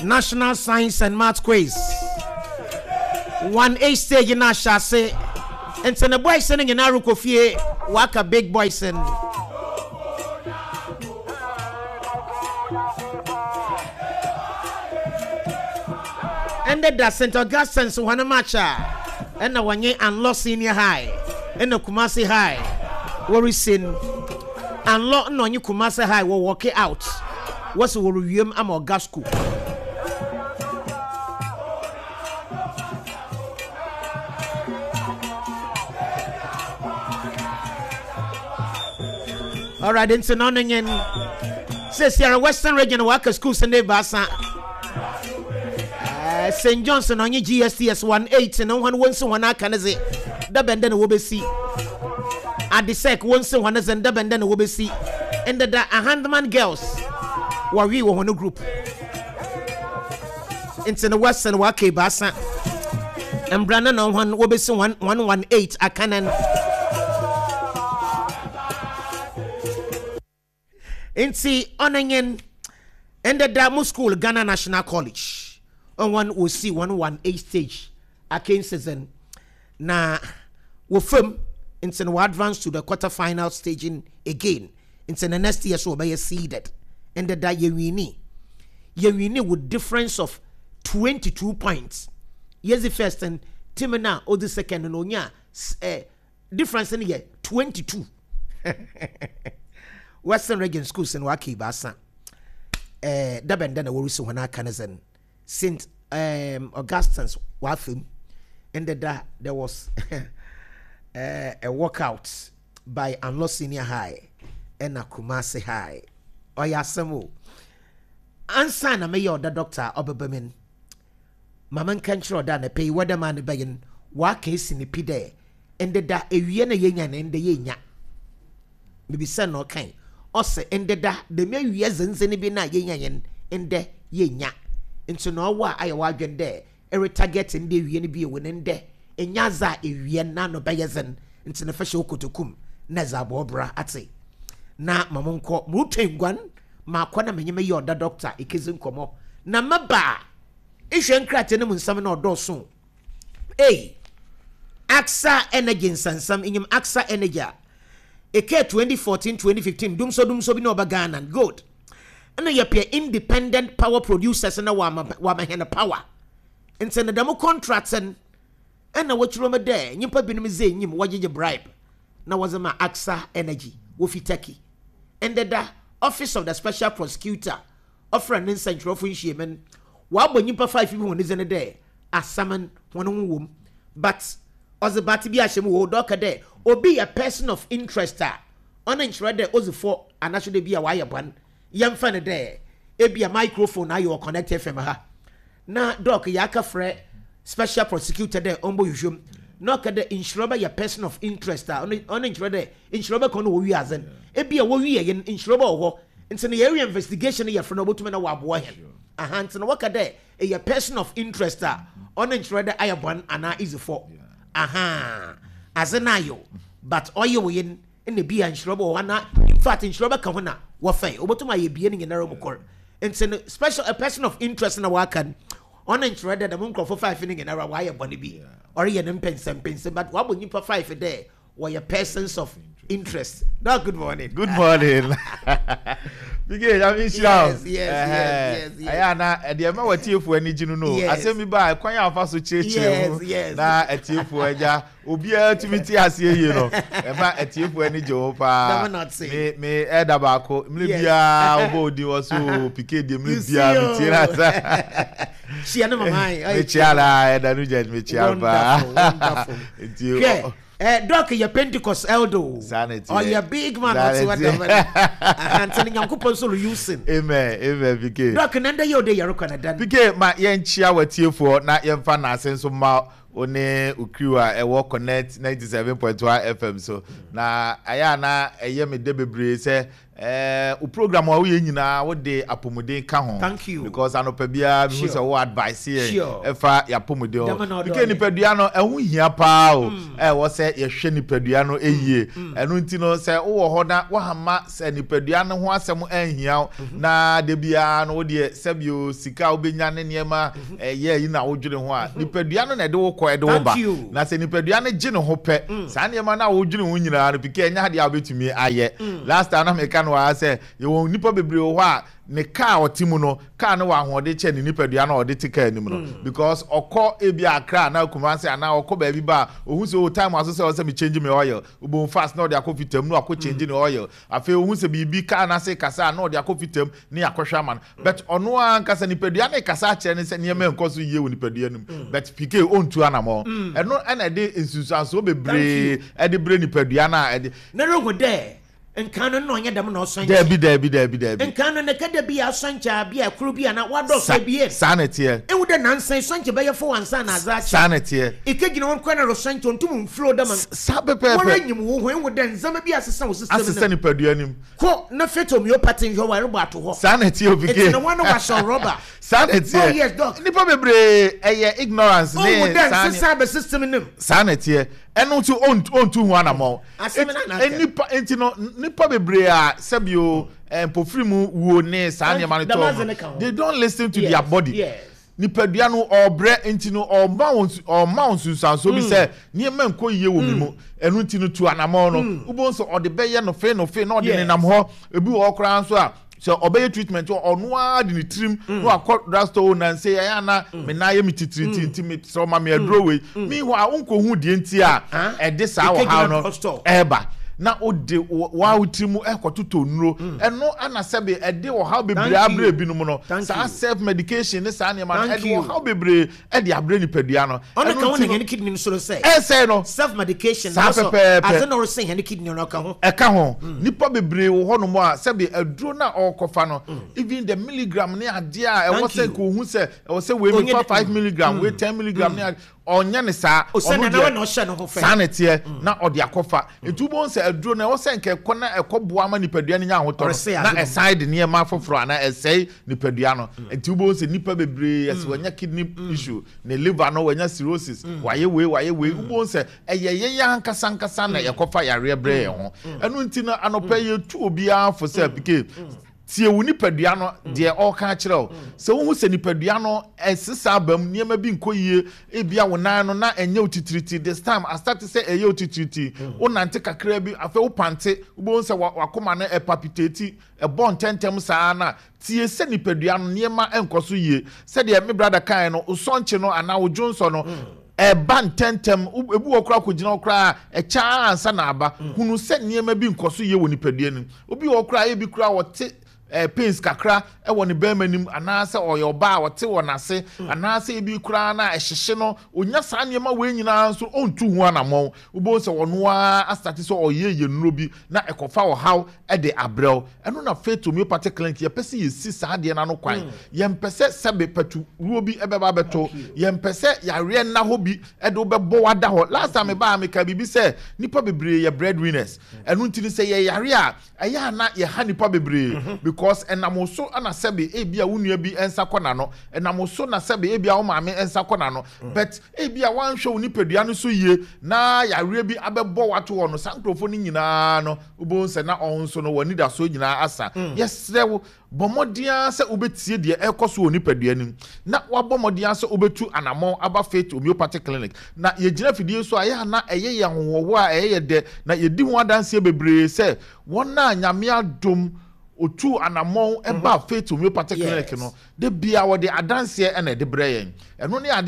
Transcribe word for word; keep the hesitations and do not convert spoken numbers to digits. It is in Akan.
National Science and Math Quiz one A stage na ahyɛ ase, nti ne boys no nyinaa rekɔ fie, waka big boys no. Ɛndɛ da Saint Augustine's wɔn match a ɛna wɔnye Anlo Senior High ɛna Kumasi High wɔresi no. Anlo na ɔnye Kumasi High wɔ walk out, wɔsi wɔrewiem ama ɔga school. Alright, nti na ɔno nye sɛ Sierra Western Region waka schools ne baasa. Uh, Saint John's na ɔnye G S T S one eight na wɔn wɔn si wɔn aka ne dze dabɛn dɛ na wɔbɛsi Adesek wɔn si wɔn dze dabɛn dɛ na wɔbɛsi. Ndeda Ahandaman Girls wɔwe wɔ wɔn group, nti no Western waka ebaasa mbra na na wɔn wɔbɛsi one one one eight aka nan. Nti ɔno nye ndeda mo school, Ghana National College, ɔwɔn wɔsi wɔn one eight stage akansizen na wɔfam, nti no wɔ advance to the quarter final staging again, nti the next year so wɔbɛyɛ seeded. Ndeda yɛwin yɛwin with difference of twenty two points. Yɛdzi first and team na ɔdzi second no onya eh, difference no yɛ twenty two. Western Region schools no waka ebaasa eh, dabɛn dɛ na wɔresi wɔn aka ne sɛn Saint um, Augustine's wafam. Ndeda there was uh, a walkout by Anlo Senior High ɛna Kumasi High. Ɔyɛ asɛm o. Ansa na mɛyɛ ɔda doctor a ɔbɛba mu no, mama nka nkyerɛ ɔda na pɛ yi wɔda maa ne bɛyɛ no waka esi ne pi dɛ ndeda ewie na yɛnya ne ndɛ yɛnya mebisa na ɔkan ɔsɛ ndeda dɛm awie zenzene bi na yɛnya yɛn ndɛ yɛnya, nti na ɔwɔ a ayɛ wadwen dɛ ɛre target ndɛ ewie no bi ewu ne ndɛ enya adze a ewie na no bɛyɛ dzen, nti ne fa hyɛ okotokum na ɛdze abɔ ɔbra ate na ma mo nkɔ mo retwa nguan maakɔ na menye meyɛ ɔda doctor ekezi nkɔmmɔ na maba a ehwɛ nkrataa no mu nsɛm na ɔdɔɔso. Ei, Aksa Energy nsansam enyim Aksa Energy a eke twenty fourteen twenty fifteen dumso dumso bi na ɔba Ghana good ɛna yɛpɛ independent power producers na wama wama hɛn power, nti ne dɛm contract no ɛna wɔkyerɛ mu dɛ nyimpa binom dze enyim wɔgyegye bribe na wɔdze ma Aksa Energy wofi Turkey. Ndeda Office of the Special Prosecutor ɔfrɛ ne nsɛntwerɛfo nhyiamu no, wɔabɔ nyimpa five bi wɔn dze ne dɛ asɛm wɔn ho wɔ but ɔdze bate bi ahyɛ mu wɔ hɔ dɛ ɔka dɛ obi yɛ person of interest a ɔno nkyerɛ dɛ ɔdzi fɔ anaso dɛ bi a wayɛ bɔn. Yɛmfa no dɛ ebi a microphone ayɛ wɔ Connect F M ha na doc yɛaka frɛ special prosecutor dɛ ɔmbɔ hwehwɛm na ɔka dɛ nhyira bɛyɛ person of interest a ɔno ɔno nkyerɛ dɛ nhyira bɛkɔ no wɔ wiadze no ebi a wɔwie yɛn nhyira bɛ wɔ hɔ, nti no yɛyɛ investigation no yɛfrɛ no ɔbɛtumi na wɔaboa hɛn aha, nti no wɔka dɛ ɛyɛ person of interest a ɔno nkyerɛ dɛ ayɛ bɔn anaa easy fɔ aha adze no ayɛ but ɔyɛ wɔ yɛn ɛna bi a nhyira bɛ wɔ hɔ ana. In fact, nhyira bɛka ho na wɔfɛn ɔbɛtumi ayɛ bie no nyinara mu kɔr, nti no special a person of interest na waka no ɔno nkyerɛ dɛ dɛm nkurɔfo five no nyinara wɔayɛ bɔne bi ɔreyɛ ne mpɛnsɛmpɛnsɛm, but wabɔ nyimpa five dɛ wɔyɛ persons of interest. Now, good morning. Good morning, bige nyame nhyira wo. Yes, yes, yes, yes, yes. Ɛyɛ ana ɛdeɛ ɛma watiefoɔ ani gye no no Yes. Asɛm bi ba a ɛkwan a afa so kyerɛkyerɛ mu Yes, yes. na atiefoɔ agya obiara tumi te aseɛ yie no ɛma atiefoɔ ani gye ho paa. Dɛm na ɔte. Me me ɛda baako mmerɛ Yes. biara wobɔ odin wɔ so pike deɛ mmerɛ You see biara o. metie no asa. Hyia no mama ayi. Mekyia la ɛda no gya mekyia paa. Wonderful, wonderful. Nti Hwɛ, eh, doc yɛ Pentecost elder o. Saa na ɛteɛ. Ɔyɛ big man. Saa na Ɔte ɛteɛ. wadama nti no Nyankopɔn nso lo using. Amen, amen, pike. Doc, na ndɛ yɛ ɔde yɛrekɔ na dan. Pike, ma yɛnkyia w'atiefoɔ na yɛmfa n'ase nso ma wo ne okriw a ɛwɔ Connect ninety-seven point one F M so na ɛyɛ a na ɛyɛ me dɛ bebree sɛ ɛɛ o program a woyɛ nyinaa, wode apɔmuden ka ho. Thank you. Because anɔpa biara mehu Sure. sɛ wo advice yɛn Sure. ɛfa yɛapɔmuden Dɛm na ho. ɔdɔ P K, yɛ. Nipadua no ɛho hia paa o. Ɛwɔ sɛ yɛhwɛ nipadua no ɛyie. Ɛno nti no, sɛ wowɔ hɔ na woahama sɛ nipadua no ho asɛm ɛnhia wo, na de biara no wodeɛ sɛbio sika a wobɛnya ne nneɛma ɛyɛ yi na wodwene ho a, nipadua no na ɛde wo kɔ, ɛde wo Thank ba. you. Na sɛ nipadua no gye ne ho pɛ, saa nneɛma no a wodwene ho nyinaa no, P K, ɛnyɛ adeɛ a wobɛtumi ayɛ. Last time na meka no wɔ ha sɛ yɛwɔ nnipa bebree wɔ hɔ a ne kaa a ɔte mu no, kaa no wɔ ahoɔden kyɛ ne nipadua no a ɔde te kaa anim no, because ɔkɔ ebi Accra anaa Kumasi anaa ɔkɔ baabi ba a, ohun sɛ o, time aso sɛ ɔsɛ mi change mi oil, obon fast na ɔde akɔ fitam na wakɔ change ne oil. Afei ohun sɛ biribi kaa n'ase kasa a, na ɔde akɔ fitam ne akɔhwɛ ama no, but ɔno ankasa nipadua ne kasa akyerɛ ne sɛ nneɛma nkɔ so yie wɔ nipadua no mu, but P K, ɔntu anamɔ. Ɛno ɛna ɛde nsunsuansoɔ bebree ɛde brɛ nipadua no a ɛde Na rehu dɛ nkan no na ɔnyɛ dɛm na ɔsɔn. Dɛbi, dɛbi, dɛbi, dɛbi. Nkan no ne kada bi a asɔnkyɛ a bi a koro bi a na wadɔso Sa- ebien. Saa na ɛteɛ. Ehu dɛ nansan sɔnkyɛ bɛyɛ fo ansa na adze akyɛ. Saa na ɛteɛ. Ikegyina wɔn kwan na resɔnkyɛ ntum nfuro dɛm. Saa pɛpɛɛpɛ. Wɔn enyim wo ho, ehu dɛ ndzɛmba bi asesa wɔ system asesa no. Nipadua nim. Kɔ na Faith Homeopathy nhwɛ wɔn ɛrebɔ ato hɔ. Saa na ɛteɛ, o P K. Eti na wɔn na wahyɛ rɔba. Saa na ɛteɛ. Oh yes, doc. Nipa bebree ɛyɛ ignorance ne Ohun dɛ saa ne nsesa abɛ system no mu. Saa na ɛteɛ. Ɛno nso ɔntu ɔntu ho anamɔ. Asɛm no na aka. Nipa nti no, nipa bebree a sɛbio mpofiri mu wuo ne saa nneɛma no Dɛm adze tɔɔ no ka ho. no, they don't listen to Yes, their body. yes. Nipadua no ɔbrɛ nti no, ɔma wɔn ɔma wɔn nsunsuansoɔ bi sɛ nneɛma nkɔ yie wɔ mi mu. Ɛno nti no, tu anamɔ no, wobɛn sɛ ɔde bɛyɛ no fe no fe na ɔde Yes. nenam hɔ. Ebi wɔ hɔ koraa nso a, sɛ ɔbɛyɛ treatment, ɔno ara de ne tirim na wakɔ drugstore nanse ɛyɛ ana me nan yɛ me titiriti nti me sɛ ɔma me aduro wei. Meanwhile, nkɔhu deɛ nti a Ah. ɛde saa Ekegyina ɔhaw no drugstore. ɛɛba na wode wa wo tiri mu ɛkɔtotɔ nnuro. Ɛno ana sɛbe ɛde ɔhaw bebree Thank you. abrɛ ebinom no. Thank Saa you. self medication ne saa nneɛma no Thank ɛde you. ɔhaw bebree ɛde abrɛ nipadua no. Ɔno Ɛno ka ho nti na no, hɛn kidney no so no sɛ ɛsɛe no. Self medication. Saa pɛpɛɛpɛ. Adze na ɔresɛn hɛn kidney no ɔka ho. Ɛka ho. Nipa bebree wɔ hɔnom a sɛbi aduro no a ɔrekɔfa no, even the milligram ne adeɛ a ɛwɔ Thank sɛ you. nka ohu sɛ ɛwɔ sɛ wei Onye mi fa de- five milligram, wei ten milligram ne ade, ɔnyɛ ne saa. Ɔsɛ Ɔno na deɛ, na na ɔhyɛ ne ho fɛ. Saa na ɛteɛ na ɔde akɔfa. Nti wobɛhu sɛ aduro no ɛwɔ sɛ nka ɛkɔ na ɛkɔ boa ma nipadua no nya ahotɔ Ɔresɛe no, na ade no. ɛsan de nneɛma foforɔ anaa ɛsɛe nipadua no. Nti wobɛhu sɛ nipa bebree ɛsɛ wɔanya kidney issue, ne liver no wɔanya cirrhosis, wayɛ wei, wayɛ wei. Wobɛhu sɛ ɛyɛ yɛyɛ ankasa ankasa na yɛkɔfa yareɛ brɛ yɛn ho. Ɛno nti no, anɔpɛ yɛtu obiara fo sɛ, P K, tie wo nipadua no deɛ ɔreka akyerɛ wo. Sɛ wohu sɛ nipadua no ɛsesa aba mu, nneɛma bi nkɔ yie, ebia wo nan no na ɛnyɛ wo titiriti, this time astart sɛ ɛyɛ wo titiriti, wo nante kakra bi, afei wo pante, wobɛhu sɛ wa- wakoma no ɛpalpitate, ɛbɔ ntɛntɛm saa na tie sɛ nipadua no nneɛma ɛnkɔ so yie. Sɛdeɛ me brother kan no, wosɔnkye no anaa wo dwonsɔ no ɛba ntɛntɛm, wo- ebi wɔ koraa kɔgyina hɔ koraa ɛkyɛ ansa na aba, hunu sɛ nneɛma bi nkɔ so yie wɔ nipadua no mu. Obi wɔ koraa, ebi koraa wɔte ɛɛ pains kakra ɛwɔ ne bɛrima nim, anaasɛ ɔyɛ ɔbaa a ɔte wɔ n'ase, anaasɛ ebi koraa na ɛhyehye no, onya saa nneɛma wei nyinaa nso ɔntu ho anammɔn. Wobɛhu sɛ ɔno ara astart sɛ ɔyɛ yɛ nnuro bi na ɛkɔfa ɔhaw ɛde abrɛw. Ɛno na Faith Homeopathy Clinic yɛpɛ sɛ yɛsi saa adeɛ no ano kwan. Yɛmpɛ sɛ sɛbe pɛturuo bi ɛbɛba abɛto, yɛmpɛ sɛ yareɛ nna hɔ bi ɛde wobɛbɔ wada hɔ. Last time mebaa, meka biribi sɛ nipa bebree yɛ breadwinners. Ɛno nti no, sɛ yɛyare a, ɛyɛ ana yɛha nipa bebree, because ɛnam so ana sɛbe ebi a wo nua bi nsa kɔ n'ano, ɛnam so na sɛbe ebi a wo maame nsa kɔ n'ano. But ebi a wanhwɛ wo nipadua no so yie na yareɛ bi abɛbɔ wato hɔ no, saa nkurɔfoɔ no nyinaa no, wobɛhu sɛ na ɔno nso no wɔn anidasoɔ nyinaa asa. Yɛsrɛ wo, bɔ mmɔden ara sɛ wobɛtie deɛ ɛrekɔ so wɔ nipadua no mu na wabɔ mmɔden ara sɛ wobɛtu anammɔn aba Faith Homeopathic Clinic. Na yɛgyina fidie so a, ɛyɛ ana ɛyɛ yɛ ahohoɔhoɔ a ɛyɛ yɛ dɛ na yɛdi ho adanseɛ bebree sɛ wɔn a Nyame adom otu anammɔn ɛba Faith Homeopathic Clinic Yes. no, de bia wɔde adanseɛ ɛna ɛde brɛ yɛn. Ɛno ne adeɛ.